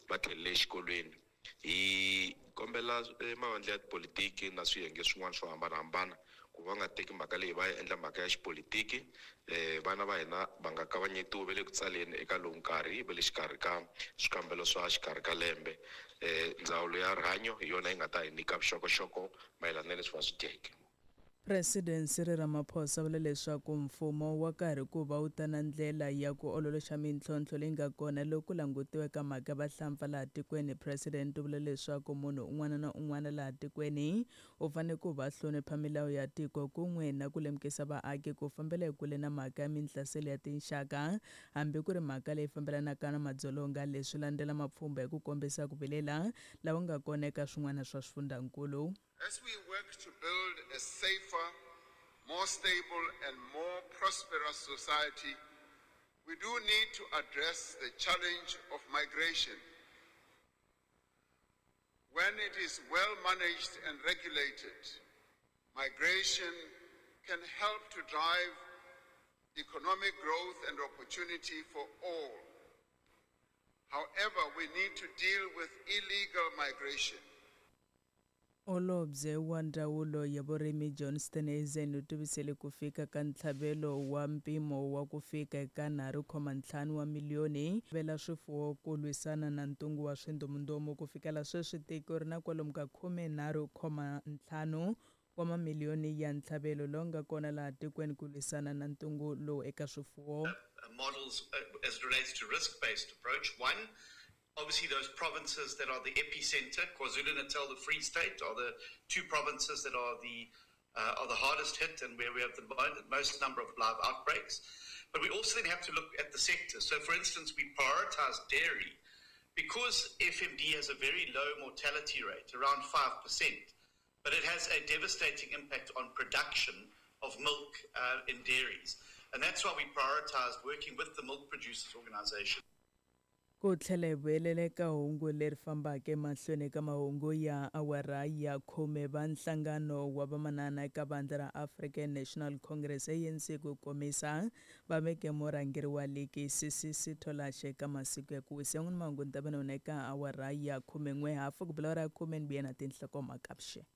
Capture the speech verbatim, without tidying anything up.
Va tlhelele exikolweni. Hi kombela mavandla ya tipolitiki na swiyenge swin'wana swo hambanahambana ku va nga teki mhaka leyi va yi endla mhaka ya xipolitiki. um vana va hina va nga kavanyetiwi ve le ku tsaleni eka lowu nkarhi va le xikarhi ka swikambelo swa xikarhi ka lembe. um ndzawulo ya rihanyo hi yona yi nga ta hi nyika vuxokoxoko mayelana na leswi va swi dyeke. President Cyril Ramaphosa vule leswaku mfumo wa karhi ku va wu ta na ndlela ya ku ololoxa mintlhontlho leyi nga kona loko ku langutiwe ka mhaka vahlampfa laha tikweni. President u vule leswaku munhu un'wana na un'wana laha tikweni u fanele ku va hlonipha milawu ya tiko kun'we na ku lemukisa vaaki ku fambela ekule na mhaka ya minhlaselo ya tinxaka hambi ku ri mhaka leyi fambelanaka na madzolonga. Leswi landzela mapfhumba hi ku kombisa ku vilela lawa nga kona eka swin'wana swa swifundzhankulu. As we work to build a safer, more stable, and more prosperous society, we do need to address the challenge of migration. When it is well managed and regulated, migration can help to drive economic growth and opportunity for all. However, we need to deal with illegal migration. Holobye wa ndzawulo ya vurimi John Steenhuisen u tivisele ku fika ka ntlhavelo wa mpimo wa ku fika eka nharhu khoma ntlhanu wa miliyoni vela swifuwo ku lwisana na ntungu wa swindomundomu. Ku fikela sweswi tiko ri na kwalomu ka khume nharhu khoma ntlhanu wa mamiliyoni ya ntlhavelo lowu nga kona laha tikweni ku lwisana na ntungu lowu eka swifuwo. Models as it relates to risk-based approach. One, obviously those provinces that are the epicenter, KwaZulu-Natal, the Free State, are the two provinces that are the uh, are the hardest hit and where we have the most number of live outbreaks. But we also then have to look at the sector. So, for instance, we prioritize dairy because F M D has a very low mortality rate, around five percent, but it has a devastating impact on production of milk uh, in dairies. And that's why we prioritized working with the Milk Producers Organization. Ku tlhela hi vuyelela eka hungu leri fambaka emahlweni eka mahungu ya awara ya khume va nhlangano wa vamanana eka vandla ra African National Congress A N C ku komisa va veke murhangeri wa ligi C C C Tolashe eka masiku ya ku wisa. N'wini mahungu ni ta va na wona eka awara ya khume n'we hafu ku bula awara ya khume ni vuya na tinhlokomhaka vuxeni.